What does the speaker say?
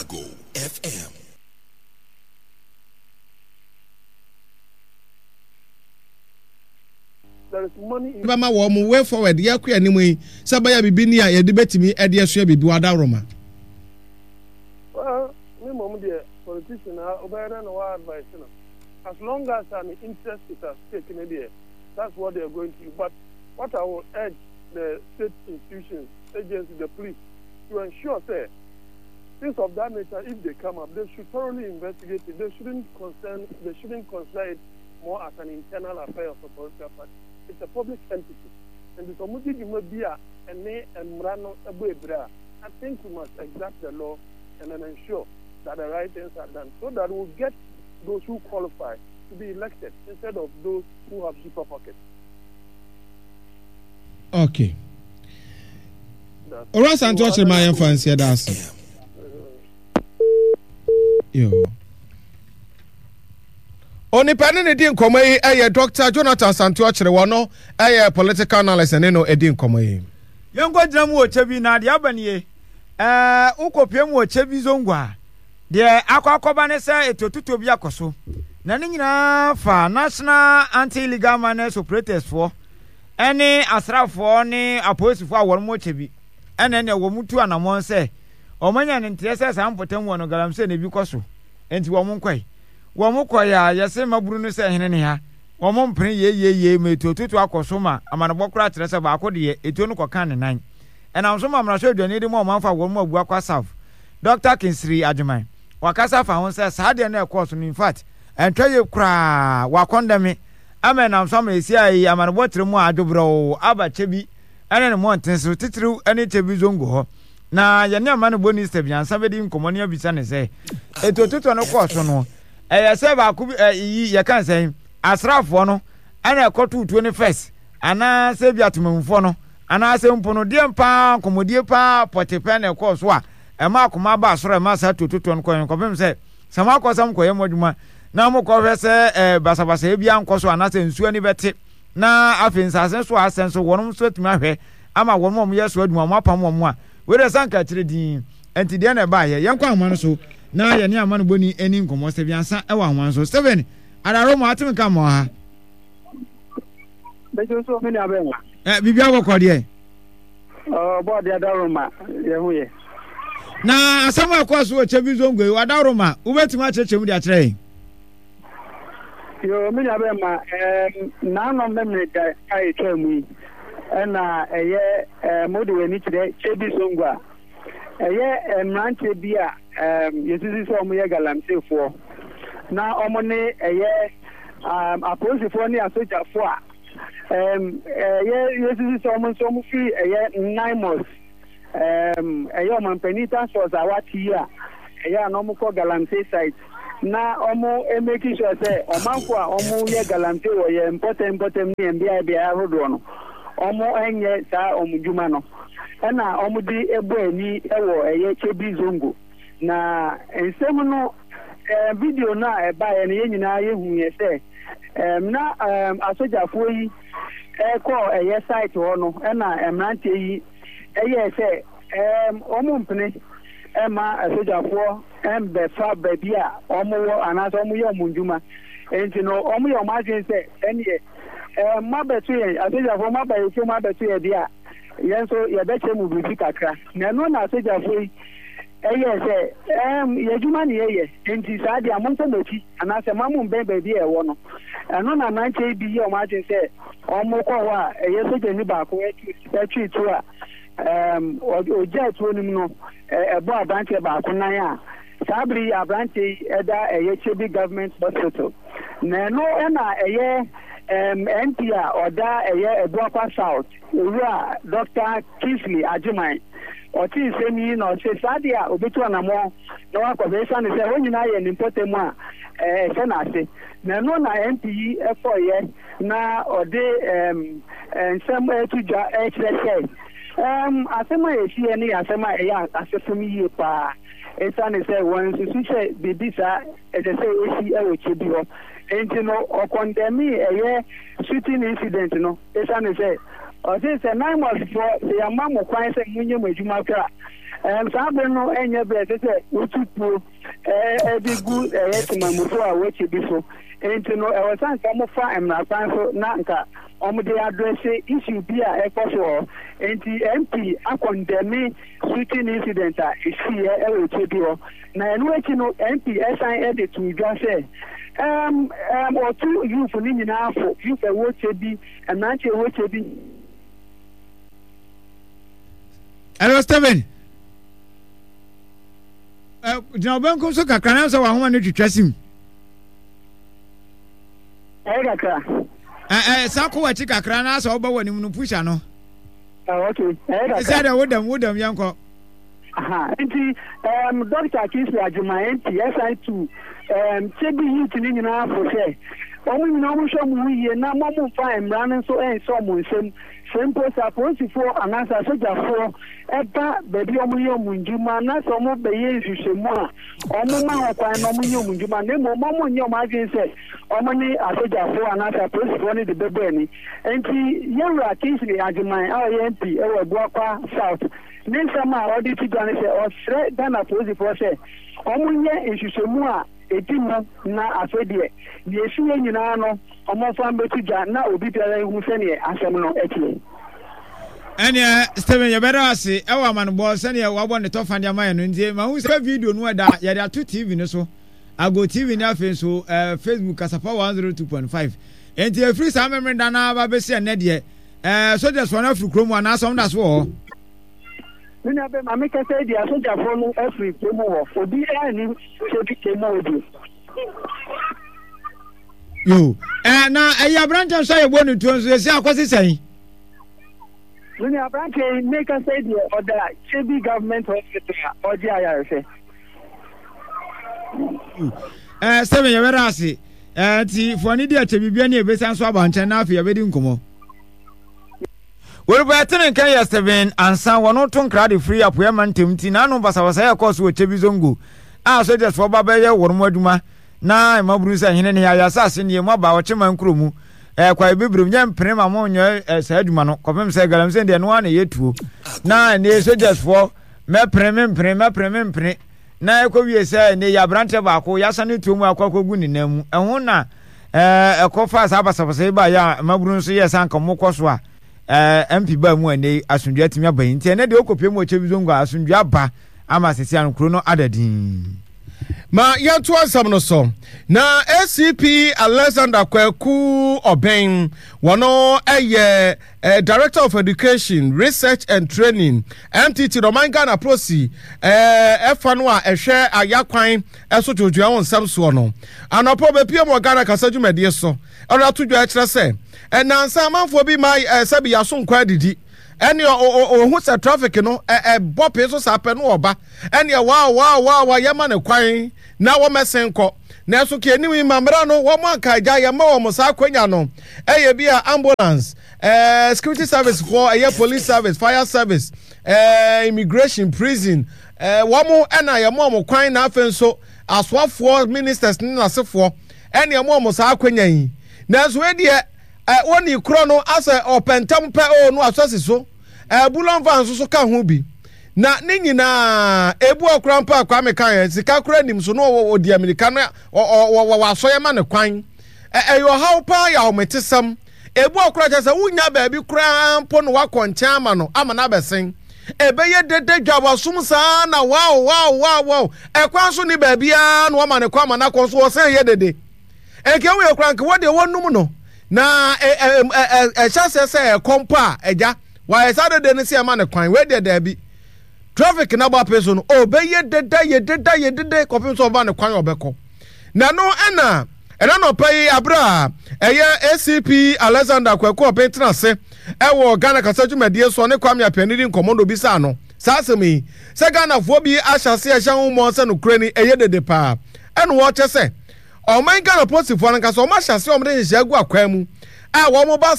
Chicago FM. Bɛma wɔn way forward yɛkɔ anim yi sɛ bɛyɛ biribi ni a yɛde bɛtumi de asua biribi wɔ adaworoma. Well, me mmom deɛ politician a wobɛyɛ dɛn na wa advice no as long as an interest is at stake ne deɛ that's what they are going to do but what I will urge the state institutions, agencies, the police to ensure sɛ things of that nature if they come up they should thoroughly investigate it they shouldn't concern they shouldn't consider it more as an internal affair of a political party. It's a public entity. And sɛ wɔdi dwuma bi a ɛne mmara no bɔ abira a, I think we must exact the law and then ensure that the right things are done so that we'll get those who qualify to be elected instead of those who have deeper pockets. Okay. Owura Asante ɔkyerɛ ma yɛmfa nsi ɛda ase. Yo. Onipa ne ne di nkɔmmɔ yi yɛ Dr. Jonathan Asante Ɔkyere wɔ no yɛ political analyst ne no di nkɔmmɔ yi. Yɛnkɔgyina mu wɔ kyɛ bi na deɛ aba nie, ɛɛ wokɔpue mu wɔ kyɛ bi zongo a, deɛ akɔ akɔba ne sɛ etuotutuo bi akɔ so. Na ne nyinaa fa National Anti-Illegal Miners Operators foɔ ɛne asraafoɔ ne apolisifoɔ a wɔn wɔ kyɛ bi ɛna ɛneɛ wɔn tu anamɔn sɛ wɔn anya ne nteɛ sɛ saa mpɔtam wɔ no galamsey na ebi kɔ so. Enti wɔn nkɔe. Wɔn kɔe a, yɛse mmabunu no sɛ hene ne ha. Wɔn mpene yei-yei-yei ma etuototo akɔ so ma amanebɔ koraa kyerɛ sɛ baako deɛ, etuo no kɔkaa ne nan. Ɛnam so ma mmarahyɛbadwani de ma ɔmanfo a wɔn mu abu akɔ asaf, Dɔkta Kinsiri Agyeman, wakasa afa ho sɛ saa adeɛ no a ɛkɔɔ so no in fact, ɛntwa yie koraa, wakɔndɛme ama ɛnam so ama ɛsi yi amanebɔ kyerɛ mu a adwobrɛw aba Kyebi ne ne mmɔnten so, titiriw ne Kyebi Zongo hɔ. Na yɛne amanebɔni Stephen Ansah bɛdi nkɔmmɔ ne abisa no sɛ, etuototoɔ no kɔɔ so no, ɛyɛ sɛ baako bi ɛyi yɛka no sɛn, asraafoɔ no ɛna ɛkɔtoo tuo no first anaasɛ bi atemammufoɔ no anaasɛ mpo no deɛn paa nkɔmmɔdie paa pɔte pɛn na ɛkɔɔ so a ɛma akoma baa soro ɛma saa tuototoɔ no kɔɛ kɔpem sɛ sɛ moakɔ sɛ mokɔyɛ mo adwuma na mokɔhwɛ sɛ ɛɛ basabasayɛ bi ankɔ so anaasɛ nsuo ani bɛte na afei nsase so a asɛ nso wɔnom nso atumi ahwɛ ama wɔn a wɔyɛ so adwuma wɔn apam wɔn a wei deɛ sanka akyire din nti deɛ na ɛbaayɛ yɛnkɔ ahoma no so na yɛne amanobɔni ani nkɔmmɔ Stephen Ansa ɛwɔ ahoma no so Stephen adaro mo atem ka mo ha Bɛgye nso me nua bɛn ɛ biribi abɔkɔ deɛ ɔbɔ adeɛ adaro ma yɛ ho yɛ na asɛm a ɛkɔɔ so wɔ kyɛbi zongo yi wadaro ma wobɛtumi akyerɛkyerɛ mu de akyerɛ yɛn Yoo, me nua bɛrima, ɛɛm, nanom Memeneda a etwaa mu yi, ɛna ɛyɛ ɛɛm, wode w'ani kyerɛ Kyebi Zongo a, ɛyɛ mmeranteɛ bi a ɛɛm, yɛsusu sɛ wɔyɛ galamseyfoɔ, na wɔn ne ɛyɛ ɛɛm, apolisifoɔ ne asogyafoɔ a ɛɛm, ɛyɛ yɛsusu sɛ wɔn nso wɔfiri ɛyɛ Naimos. Ɛɛm, ɛyɛ ɔmanpanin task force a wate yi a ɛyɛ a na wɔkɔ galamsey site na wɔn make sure sɛ ɔmanfo a wɔyɛ galamsey wɔ yɛn mpɔtam mpɔtam ne yɛn beae beae ahodoɔ no, wɔnyɛ saa wɔn dwuma no. Ɛna wɔde bɔ ani wɔ ɛyɛ Kyebi Zongo. Na nsɛm no, ɛɛm, video no a ɛbaeɛ no, yɛn nyinaa yɛhuiɛ sɛ, ɛɛm, na ɛɛm, asogyafoɔ yi kɔɔ ɛyɛ site hɔ no, ɛna mmeranteɛ yi ɛyɛɛ sɛ wɔmpene mma asogyafoɔ mmɛfa baabi a wɔwɔ anaasɛ wɔyɛ wɔn nnwuma. Enti no, wɔyɛ wɔn adwene sɛ, ɛnneɛ, moabɛto yɛn, asogyafoɔ, moaba yɛn kurom abɛto yɛn deɛ a, yɛn nso yɛbɛkyerɛ mo biribi kakra. Na ɛno na asogyafoɔ yi ɛyɛɛ sɛ, yɛn adwuma na yɛyɛ, enti saa deɛ a monkɔ mo akyi anaasɛ mma mommbɛn baabi a ɛwɔ no. Ɛno na mmeranteɛ yi bi yɛɛ wɔn adwene sɛ wɔkɔ hɔ a ɛyɛ sogyani baako twee tuo a ɔgyaa tuo no mu no, ɛbɔɔ aberanteɛ baako nan a saa bere yi aberanteɛ yi da ɛyɛ Kyebi Government Hospital. Na ɛno na ɛyɛ MP a ɔda ɛyɛ Abuakwa South, Owura Dɔkta Kingsley Agyeman, ɔtee nsɛm yi na ɔse saa deɛ a ɔbɛtu anamɔn na wakɔhwɛ esiane sɛ hɔ nyinaa yɛ ne mpɔtam a ɛhyɛ n'ase. Na ɛno na MP yi kɔeɛ na ɔde nsɛm reto dwa rekyerɛ sɛ asɛm a ɛsiiɛ no yɛ asɛm a ɛyɛ asefem yie paa esiane sɛ wɔansusu sɛ biribi saa ɛsɛ sɛ ɛsi wɔ kyɛ bi hɔ. Enti no ɔkɔndɛmee ɛyɛ shooting incident no esiane sɛ ɔse sɛ NAIMOS foɔ sɛ yɛama mo kwan sɛ monyɛ mo adwuma koraa a. Ɛɛm saa bere no ɛnyɛ bere a ɛsɛ sɛ wotu tuo ɛɛ de gu ɛyɛ temamufo a wɔakyi bi so. Enti no ɛwɔ sɛ anka wɔfa mmara kwan so na anka wɔde adrɛse issue bi a ɛkɔ so wɔ hɔ. Enti MP akɔndɛme shooting incident a esiiɛ ɛwɔ Kyebi hɔ. Na ɛno akyi no MP ɛsan de too dwa sɛ ɛɛm ɛɛm ɔtu youth no nyinaa fo, youth a ɛwɔ Kyebi, mmeranteɛ a ɛwɔ Kyebi. Hello, Stephen. Gyina ɔbɛnkom so kakra na sɛ wahoma no twitwa sim. Ɛyɛ kakra. Ɛ sa kɔ w'akyi kakra na sɛ ɔba w'anim no push ano. Okay, ɛyɛ kakra. Sɛ dɛ wodam wodam yɛn kɔ. Aha, nti um, Dr. Kingsley Agyemang MP ɛsan tu um, Kyebi youth no nyinaa fo sɛ wɔn nyinaa wɔn hwɛ wɔn ho yie na wɔn mfa mmara no nso nhyɛ wɔn nsam. Sɛ mpo sɛ apolisifoɔ anaasɛ asogyafoɔ ba baabi a wɔyɛ wɔn ndwuma na sɛ wɔbɛyɛ nhwehwɛmu a, wɔmma ho kwan na wɔnyɛ wɔn ndwuma na mmom wɔnyɛ wɔn adwene sɛ wɔne asogyafoɔ anaasɛ apolisifoɔ no de bɛbɔ ani. Enti Yɛwura Kingsley Agyemang a ɔyɛ MP wɔ Abuakwa South ne nsɛm a ɔde to dwa ne sɛ ɔsrɛ Ghana apolisifoɔ sɛ wɔnyɛ nhwehwɛmu a ɛdi mu na afei deɛ, deɛ ɛsiiɛ nyinaa no wɔmfa mmɛto dwa na obi biara nhu sɛdeɛ asɛm no teɛ. Ɛneɛ Stephen yɛbɛda wo ase ɛwɔ amanobɔ sɛdeɛ wabɔ ne tɔfa de ama yɛn no nti mahu sɛ video no ɛda yɛde ato TV no so Ago TV ne afei nso eh, Facebook Kasapa 102.5 nti ɛfiri saa memeneda no aba bɛsi ɛnnɛ deɛ eh, sogyasfoɔ no afiri kurom anaasɛ wɔn da so wɔ hɔ? Me nua bɛma me kasa yi deɛ asogyafoɔ no afiri kurom hɔ obi anni sɛ bi mu hɔ bio. Yo, eh, na ɛyɛ aberanteɛ nso a yɛbɔ ne tuo nso yɛsi akɔsi sɛn? Me nua aberanteɛ yi me kasa yi deɛ ɔda Kyebi Government Hospital a ɔgye ayarehwɛ. Eh, sɛ me yɛbɛda ase. Eh, nti fo ani di akyɛ biribi ani ɛbɛsan so aba nkyɛn na afei yɛbɛdi nkɔmmɔ. Wɔrebɛte ne nka yɛ Stephen Ansa wɔn to nkra de firi Apueɛ mantam nti n'ano basabasa yɛ kɔɔ so wɔ Kyebi Zongo a sogyasfoɔ ba bɛyɛ wɔn mu adwuma na mmabunu sɛ hene ne yɛ asase nie mo aba ɔkyeman nkuro mu ɛɛ kwae bibirem nyɛ mpene ma mo nyɛ ɛɛ saa adwuma no kɔpem sɛ galamsey deɛ no ara na ɛyɛ tuo na ne sogyasfoɔ mɛpene mempene mɛpene mempene na ɛkɔ wie sɛ ne yɛ aberanteɛ baako yɛasa ne tuo mu akɔ akɔgu ne nan mu ɛho na ɛɛ ɛkɔ fa saa basabasa yi ba yɛ a mmabunu nso yɛ sɛ anka wɔn kɔ so a ɛɛ MP baa mu a ɛnɛ asomdwoe atumi aba yi nti ɛnɛ deɛ ɔkɔ pie mu ɔkyɛ bi zongo a asomdwoe aba ama sisi ano kuro no ada din. Ma yɛnto asɛm no so. Na ACP Alexander Kwaku Ɔbɛn, wɔno ɛyɛ eh, Director of Education, Research and Training, MTT, na ɔman Ghana Prosi eh, ɛfa no a ɛhwɛ ayakwan ɛso dwodwoa ho nsɛm soɔ no. Anɔpa ɔbɛpie mu wɔ Ghana kasa dwumadie so. Ɛna ato dwa ɛkyerɛ sɛ, ɛnansa amanfoɔ bi ma eh, sɛbi yaso nkɔ adidi. Ɛne ɔhu sɛ traffic no ɛbɔ pee so saa pɛ no ɔba. Ɛneɛ waa waa waa waa yɛma no kwan na wɔmɛsen kɔ. Nanso ka anim yi ma mmara no wɔn anka agya yɛma wɔn saa akwanya no. Ɛyɛ bi a ambulance, ɛɛ security service foɔ, ɛyɛ police service, fire service, ɛɛ immigration, prison, ɛɛ wɔn ɛna yɛma wɔn kwan na afei nso asoafoɔ, ministers ne n'asefoɔ ɛne ɛma wɔn saa akwanya yi. Nanso ɛdeɛ ɛ wɔn korɔ no asɛ ɔpɛntɛm pɛ o no asɔsi so. Ɛɛ bulɔnfa nso so ka ho bi. Na ne nyinaa ebu ɔkora mpo a Kwame kan yɛ sika kora nim so no ɔdi amirika no wasɔ yɛ ma ne kwan. Ɛyɛ ɔhaw paa yɛ ahometesɛm. Ebu ɔkora kyɛ sɛ wonya baabi koraa mpo no wakɔ nkyɛn ama no ama no abɛsen. Ɛbɛyɛ dede dwa wasom saa na wow wow wow wow ɛkwan so ne baabiara na wama ne kwan ama no akɔ nso ɔsan yɛ dede. Nka ewu yɛ koraa nka wɔdeɛ wɔnum no na ɛhyɛ aseɛ sɛ ɛkɔ mpo a agya Wayɛ saa dede no sɛ ɛma no kwan. Wei deɛ daabi. Traffic na bɔ ape so no, ɔbɛyɛ deda yɛ deda yɛ dede kɔpem sɛ ɔba no kwan ɔbɛkɔ. Na no ɛna ɛna nɔpa yi abere a ɛyɛ ACP Alexander Kwaku Ɔben tena ase ɛwɔ Ghana kasa dwumadie so ne Kwame Apiani di nkɔmmɔ na obisaa no saa asɛm yi sɛ Ghanafoɔ bi ahyɛ ase ɛhyɛ ho mmɔn sɛ nokorɛ ni ɛyɛ dede paa ɛna wɔkyɛ sɛ ɔman Ghana polisifoɔ no ankasa wɔn ahyɛ ase wɔn de nhyehyɛ agu akwan mu a wɔn ba.